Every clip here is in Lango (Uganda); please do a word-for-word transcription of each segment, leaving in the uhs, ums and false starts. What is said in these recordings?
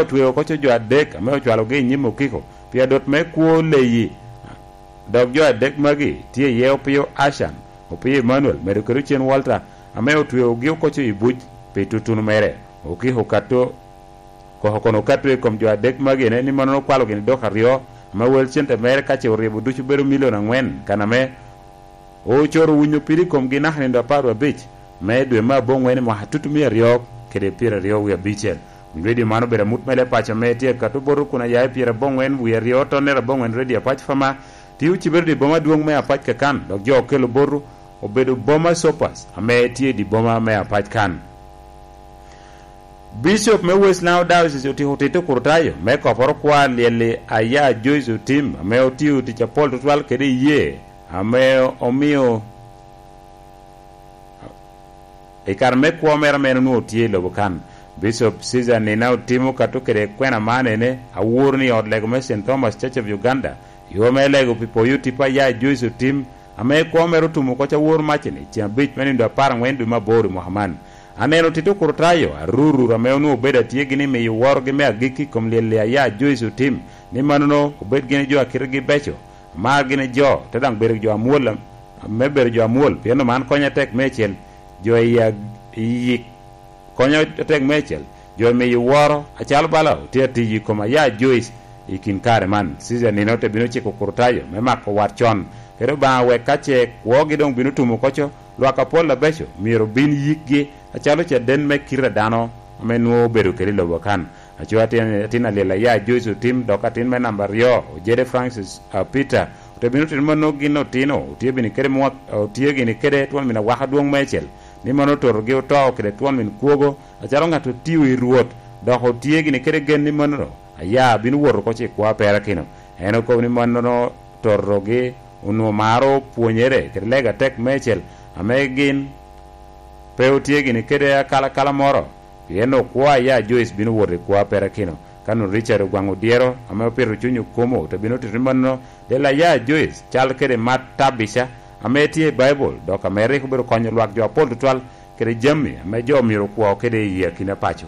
otweo oko co jo adek ame ocwalogi i nyim okiko pi adot me kwo leyi. Dok jo adek magi tye iye Opio Ashan, Opio Emmanuel, medo kede Ocen Walter, ame otweogi oko co i buc pi tutuno mere. Okiko okato, koko kono okato i kom jo adek magi ene ni mannono okwalo gini dok aryo, ame wel cente mere ka ce oryebo ducu bedo milion angwen, kan ame ocoro winyo piri i komgi naka nindo apar wie abic me dwe me aboŋwen i mwaka tutumia aryo kede pyeraryo wie abicel. Kun redio man obedo amut mere i paco ame tye akato boto kun aya i pyeraboŋwen wie aryo tonnere aboŋwen redio Apac Fama, tye ocibere i boma adwoŋ me Apac Kakan, dok jo okelo boto obedo boma Sopas ame tye i di boma me Apac Kan. Bicop me West Nile Diocese otiko tito kurutayo me koporo kwa lyel-li aya Joyce Otim, ame otio tic apol tutwal kede iyee, ame omio i kare me kwo mere ame en onwoŋo tye i lobo kan. Bicop Caesar Nina otimo kato kede kwena man ene, aworo ni ot lego me Saint Thomas Church of Uganda, yo me lego pi poyo tipo aya Joyce Otim, ame kwo mere otumo oko ca woro macini, ceŋ abic me nindo apar aŋwen dwe me aboro i mwaka man. Aneno tito kurutayo arurur ame onwoŋo obedo atye gini miyo worogi me agikki i kom lyel-li aya Joyce Otim, ni mannono obed gini jo a kitegi beco, amar gini jo, te daŋ bedo jo amwol, me bedo jo amwol, pien oman konyo atek meicel, jo i ag-, i yik konyo atek meicel, jo miyo woro, acalo bala otye atiyo i kom aya Joyce i kin kare man. Caesar Nina te bino ciko kurutayo me mako wat con, kede Obaŋa wek ka ce kwogi doŋ bino tumo oko co, lwak apol abeco myero obin yikgi acalo caden me kite a dano ame nwoŋo obedo kede i lobo kan. Aco atin, atin alyel aya Joyce Otim, dok atin me namba aryo, Ojede Francis, a, Peter, ote bino tito mannono gin otino, otye bini kede mwa-, otye gini kede twon min awaka adwoŋ meicel, ni mano ototogi oto kede twon min kwogo, acalo ŋat otio i Rwot, dok otye gini kede gen ni mannono aya bino wot oko ci kwo aperakino. En okobo ni mannono totogi onwoŋo maro pwonyere kede lega atek meicel, ame gin pe otye gini kede akalakala moro, pien okwo aya Joyce bino wot i kwo aperakino. Ka nwoŋo Richard Ogwaŋ Odyero, ame opito cuny okomo, te bino tito ni mannono, del aya Joyce, cal kede mat Tabica, ame tye i Baibul, dok ame rik obedo konyo lwak jo apol tutwal, kede jami ame jo myero okwo kede i akina paco.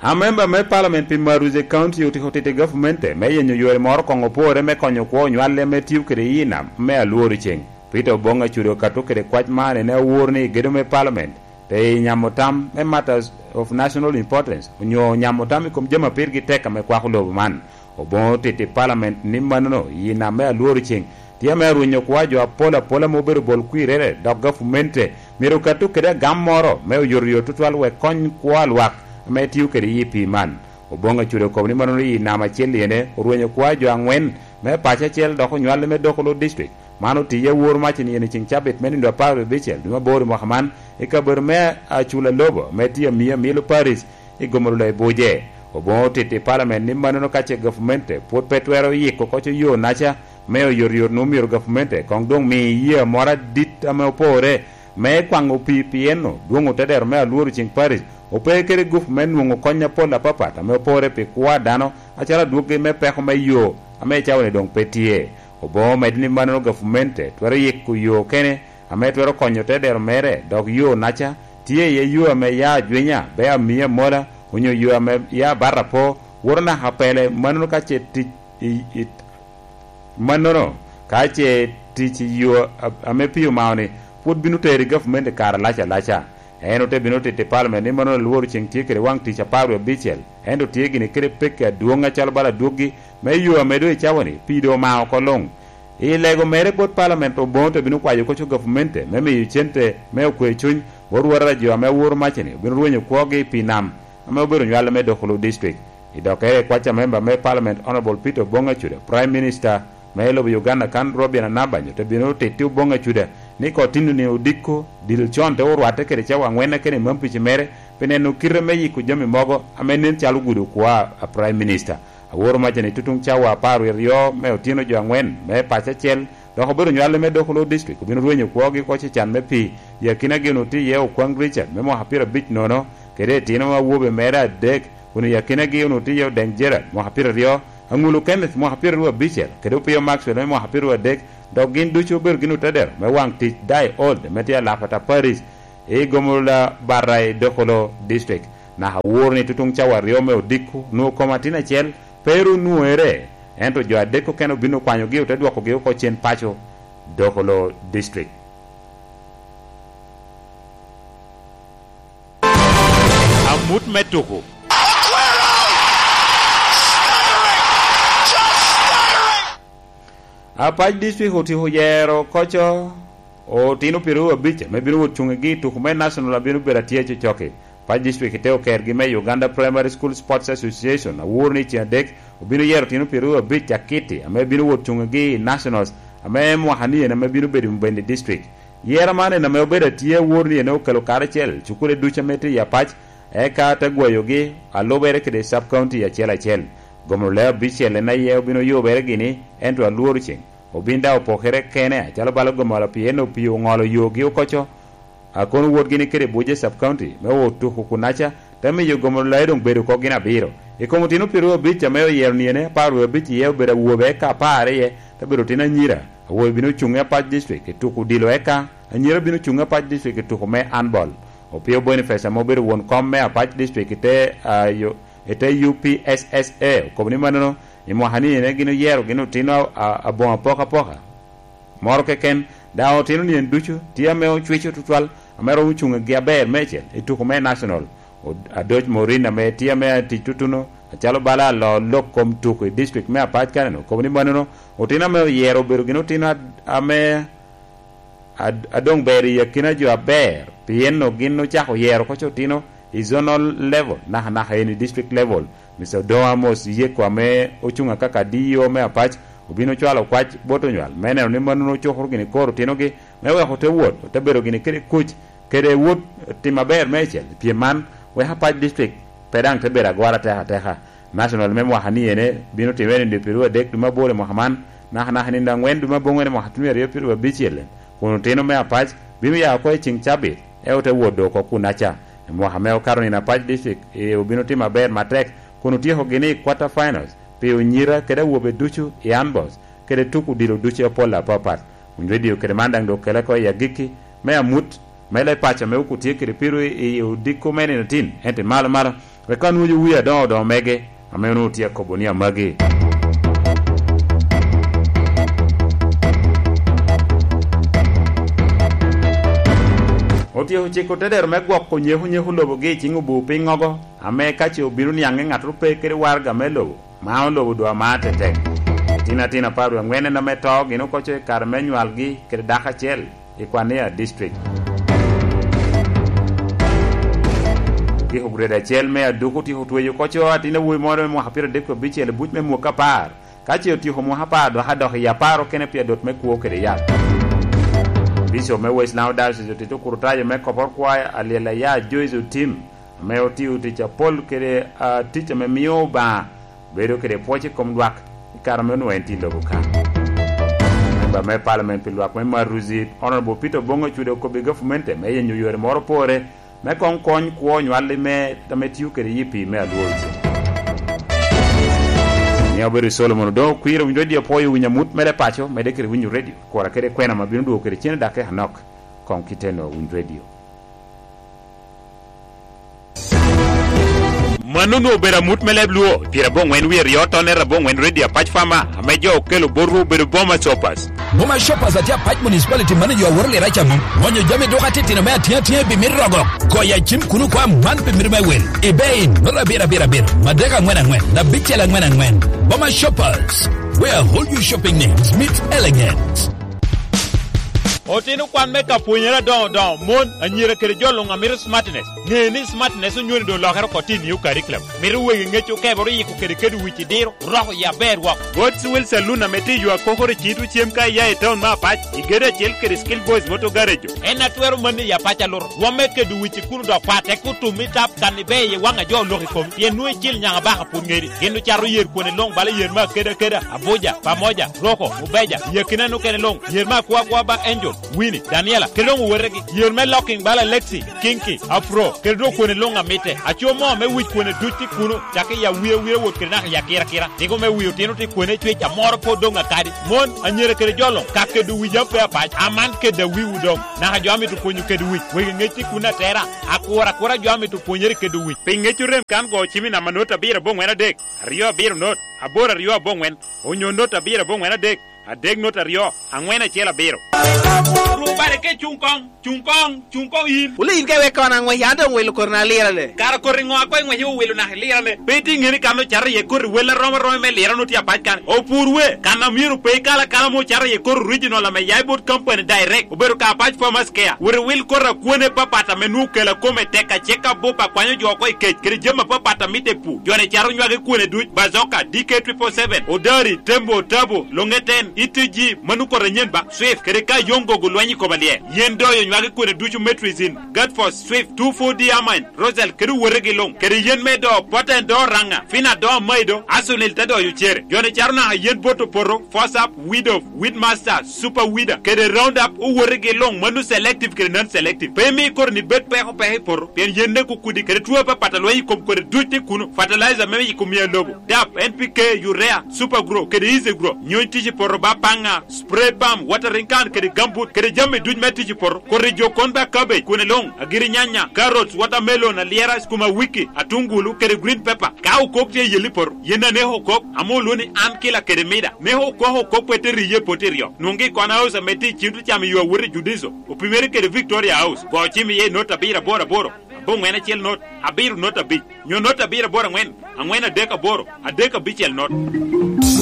Amemba me Parliament pi Maruze County otiko tito i gavmente me yenyo yore moro koŋ opore me konyo kwo onywalli ame tio kede i nam me alworo ceng. Peter Obong Acude okato kede kwac man ene awor ni gedo me Parliament pe i nyamo tam me matters of national importance onyo nyamo tam i kom jami a pirgi tek ame kwako lobo man. Oboŋo titi Parliament ni mannono i nam me alworo ceng tye ame arwenyo kwo a jo apol apola ame obedo bol kwirere, dok gavmente myero okato kede agam moro me oyotoyot tutwal wek kony kwo a lwak ame tio kede i pii man. Oboŋo Acude okobo ni mannono i nam acel iyene orwenyo kwo a jo aŋwen me paco acel dok onywalli me Dokolo District. Man otiye awor mac i nino i ceŋ cabit me nindo apar wie abicel dwe me aboro i mwaka man i kabedo me Acula Lobo me tye Amia Milo Paris i Gomolola i Buje. Oboŋo otito i Parliament ni mannono ka ce gavmente pwod pe twero yiko oko co yo naca me oyotoyot, nwoŋo myero gavmente koŋ doŋ mi yee moro adit ame opore me kwaŋo pii, pien dwoŋ otedero me alworo ceŋ Paris ope kede gup me nwoŋo kony apol apapat ame opore pi kwo a dano, acalo adwoggi me peko me yo ame i cawa-ni doŋ pe tye. Oboŋo omedde ni mannono gavmente twero yiko yo okene ame twero konyo te dero mere, dok yo naca tye iye yo ame ya Ajwinya, Bea Amia Mola, onyo yo ame ya Batapo, woto naka Pele, mannono ka ce tic i, i, mannono ka ce tic i yo a-, ame pii omao-ni pwod bino tero i gavumenti i kare alac alaca. En ote bino tito i Parliament ni mannono alworo ceŋ tye kede waŋ tic apar wie abicel, ento tye gini kede pekki adwoŋ acalo bala adwoggi me yo ame doŋ i cawa-ni pii doŋ omao oko luŋ. I lego mere bot Parliament, Oboŋo te bino kwayo koco gavumenti me miyo cente me okwe cuny bot rwotara jo ame aworo macini obino rwenyo kwogi i pii nam ame obedo nywale me Dokolo District. I dokkere i kwac a memba me Parliament Honorable Peter Oboŋo Acuda, Prime Minister me lobo Uganda kan Robinah Nabbanja te bino titi Oboŋo Acuda ni kotino ni odiko dil con te orwatte kede cawa aŋwen kene i mam pici mere pi neno kite me yiko jami mogo ame nen calo gudo kwo a Prime Minister. Aworo macani tutuŋ cawa apar wie aryo me otino jo aŋwen me paco acel, dok obedo nywalli me Dokolo District obino rwenyo kwogi oko cecan me pii. I akinagi onwoŋo tye iye Okwaŋ Richard me mwaka pyerabic nono, kede itino awobe mere adek, kun i akinagi onwoŋo tye iye Odeŋ Gerald mwaka pyeraryo, Aŋulu Kenneth mwaka pyeraryo abicel, kede Opio Maxwell me mwaka pyeraryo adek, dok gin ducu obedo gin otedero me waŋ tic Dai Old me tye alapata Paris i Gomolola Bata i Dokolo District. Naka awor ni tutuŋ cawa aryo me odiko, onwoŋo kom atin acel pe ru nwoŋere, ento jo adek okene obin okwanyogi, ote dwokogi oko cen paco, Dokolo District. Amut me tuko. Apac District otyeko yero koco otino pyeraryo abic ame bino wot cuŋgi i tuko me National a bino bedo atye cocoki. Apac District te okergi me Uganda Primary School Sports Association awor ni i ceng adek obino yero otino pyeraryo abic akiti ame bino wot cuŋgi i Nationals ame mwaka ni en ame bino bedo i Mubende District. Yero man en ame obedo atye awor ni en okelo karacel cukule ducu ame tye i Apac, eka te gwayogi alubere kede sub county acel acel. Gomno leo abicel en aye obin oyubere gini, ento alworo ceŋ obin daŋ opokere kene, acalo bala gomoro pien opii oŋolo yogi okoco. A kono wot gini kede Buje sub county me otuko kunaca, te miyo gomoro leo doŋ bedo oko gin abiro. I kom otino pyeraryo abic ame oyero niene, apar wie abic iye obedo awobe, eka apar iye te bedo otino anyira. Awobe bino cuŋ i Apac District i tuko odilo, eka anyira bino cuŋ i Apac District i tuko me handball. Opio Boniface ame obedo won kom me Apac District i te, ah, yo-, i te U P S S A okobo ni mannono i mwaka ni ene gin oyero gin otino a-, a-, aboŋo apokapoka. Moro keken, daŋ otino nyen ducu tye ame ocwico tutwal, ame romo cuŋ gi aber meicel i tuko me National. Od-, Adoc Morin ame tye ame atic tutuno, acalo bala alo lok kom tuko i district me Apac kaneno, okobo ni mannono otino ame oyero obedo gin otino ad-, ame ad-, a doŋ ber i akina jo aber, pien gin ocako yero oko otino i zonal level, nakanaka eni district level. Mister Odongo Amos Yeko ame ocuŋ akaka D E O me Apac obin ocwalo kwac bot onywal me neno ni mannono ocukoro gini kor otinogi me weko ote wot, ote bedo gini kede kuc, kede wot tim aber meicel. Pyem man weko Apac District pe daŋ te bedo agora atek ateka. National me mwaka ni ene bino timere i nino pyeraryo adek dwe me aboro i mwaka man, nakanaka i nino angwen dwe me aboŋwen i mwaka tuno aryo pyeraryo abicel, kun otino me Apac bino ya oko i ceŋ cabit, ento te wot doŋ oko kunaca. I mwaka me okato nino Apac District, ee, obino timo aber matek, kun otyeko gini i quarter finals pi onyira kede awobe ducu i handballs kede tuko odilo ducu apol apapat. Winy Radio kede man daŋ doŋ okele oko i agikki me amut me leb paco ame okutye kede piro i, i odiko me nino tin, ento i malo malo, wek anwojo wi adoŋo odoŋo mege, ame onwoŋo tye akobo ni amagi. Otyeko ciko tedero me gwoko nyeko nyeko lobogi i ciŋ obu piny ogo, ame ka ce obino niaŋe ŋattoro pe kede waraga me lobo, ma olobo dwa mar tetek. Itino atin apar wie aŋwen en ame to gin okoco i kare me nywalgi kede dako acel i Kwania District. Giko grade acel me Aduku otyeko tweyo okoco atin awobi moro me mwaka pyero adek abicel i buc me mwaka apar. Ka ce otyeko mwaka apar, dok adok i apar okene pi adot me kwo kede yat. Bishop me West Nile Diocese otito kurutayo me kopor kwaya alyel aya Joyce Otim, ame otio tic apol kede, ah, tic ame mio Obaŋa bedo kede pwoc i kom lwak i kare ame onwoŋo en tye i lobo ka. Memba me Parliament pi lwak me Maruzi, Honorable Peter Obongo Ocude okobbi gavumenti me yenyo yore moro pore me koŋ kony kwo onywalli me, ame tio kede yi pii me alworo cen. Ni obedo Solomon Odongo Okwir, winyo radio apwoyo winyo amut mere paco, mede kede winyo radio, kura kede kwena ma bino dwogo kede cen dakika anok. Koŋ kite no winyo radio. Mano onwoŋo obedo amut me leb Luo, pyerabongwen wie aryo tonne rabongwen Radio Apac Farmer, ame jo okelo botwu obedo Boma Shoppers. Boma Shoppers atye Apac Municipality manager aworo lira caŋo. Ŋonyo jami duka titino me atiŋa atiŋa i bimit rogo. Goyo acim kun okwa man pi mito me wil. I bei, nota abiro abiro abiro, madek aŋwen aŋwen, abicel aŋwen aŋwen. Boma Shoppers, where all your shopping needs meet elegance. Otino kwan me ka pwonyere adoŋo doŋo, mon, anyira kede jo luŋ a mito smartness. Ŋe ni smartness onywoni doŋ olokere oko tye i new curriculum. Mito wegi ŋec okebere oyiko kede kede wic i diro, roko i aber wok. God's Will Saloon ame tye i yo akokoro i Citro cem ka iya i town me Apac, i gedo acel kede Skill Boys Motor Garage. En a twero manni i Apac aluto. Rwomme kedo wic i kuno dok pat, tek otum i tap kan ibe i waŋ a jo olok i komi. Pien nwoŋo icil nyaŋ abaka pwod ŋeri. Gin ocato yer kwone luŋ bala yer me akeda akeda, Abuja, Pamoja, Roko, Mubeja, i akina nokene luŋ, yer me akwo akwa ba Angel, Winnie, Daniela, kede doŋ owetegi, yer me Locking bala Lexi, Kinky, Afro, kede doŋ kwene luŋ amitte. Aco moo me wic kwene duc tye kuno, cakki i awiawia wot kede naka i akirakira. Tiko me wi otino tye kwene cwec amoro pwod doŋ akadi. Mon, anyira kede jo luŋ, ka kedo wic ape apac, aman kede awiwu doŋ. Naka jo amito pwonyo kedo wic, wegi ŋec tye kuno atera, akura akura jo amito pwonyere kedo wic. Pi ŋec orem kan go cim i namba not abiro aboŋwen adek, aryo abiro not, aboro aryo aboŋwen, onyo not abiro aboŋwen adek, adek not aryo, aŋwen acel abiro. Rubare ke cuŋ koŋ, cuŋ koŋ, cuŋ koŋ in. Wule in ka iwek kono aŋwec, an doŋ wilo kori na lira le. Kara kori ŋo a koŋ iŋwec iwilo naka ilira le? Pe itye ŋeni kan ocato iye kori wel arom aroma me lira no tye apac kan. Opur we, kan a myero pe ikal akala mo ocato iye kori original ame ya i bot company direct. Obedo ka apac farmers care. Wot iwil kori akwone papat ame nwoŋo kela kome tek a check up bup akwanyo jo oko i kec kede jami apapat a mitte i pur. Joni caro nywage kwone duc, Bazoka, D K triple seven, Odari, Tembo, Tabo, Longeten, E T G, mano kor anyen ba, Swift, kede ka yoŋ gogo lweny i kom alyel. Yen doyo nywage kwene ducu Metrizin, Gatfos, Swift, two four D Amine, Rosel, kede owotegi luŋ, kede yen me do, Poten do Raŋa, Fina do Maido, Asunil te doyo cere. Joni caro naka yen bot opoto, Fosap, Widow, Weedmaster, Super Weeder, kede Roundup, owotegi luŋ, mano selective kede non selective. Pe imi koro ni bed peko peko i poto, pien yen ne kukudi, kede tuo apapat a lweny i kom kodi duc tye kuno. Fertilizer me yiko mia lobo, dap, N P K, urea, Super Grow, kede Easy Grow. Nyony tic i poto ba paŋa, spray pump, watering can, kede gambut, kede jami duc me tic i poto. Kodi jo kon ba cabbage, kwene luŋ, agiri nyanya, carrots, watermelon, alyera, skuma wiki, atungulu, kede green pepper. Ka okok tye i yel i poto, yen aneko okok, ame olwo ni an kila kede mida. Neko okok okok pe te riye poti ryo. Nwoŋgi i Kona House ame tye i Cintu Cam i yo awot i Judiso. Opimere kede Victoria House. Go cim iye i not abiro aboro aboro, aboŋwen acel not, abiro not abic, nyo not abiro aboro aŋwen, aŋwen adek aboro, adek abicel not.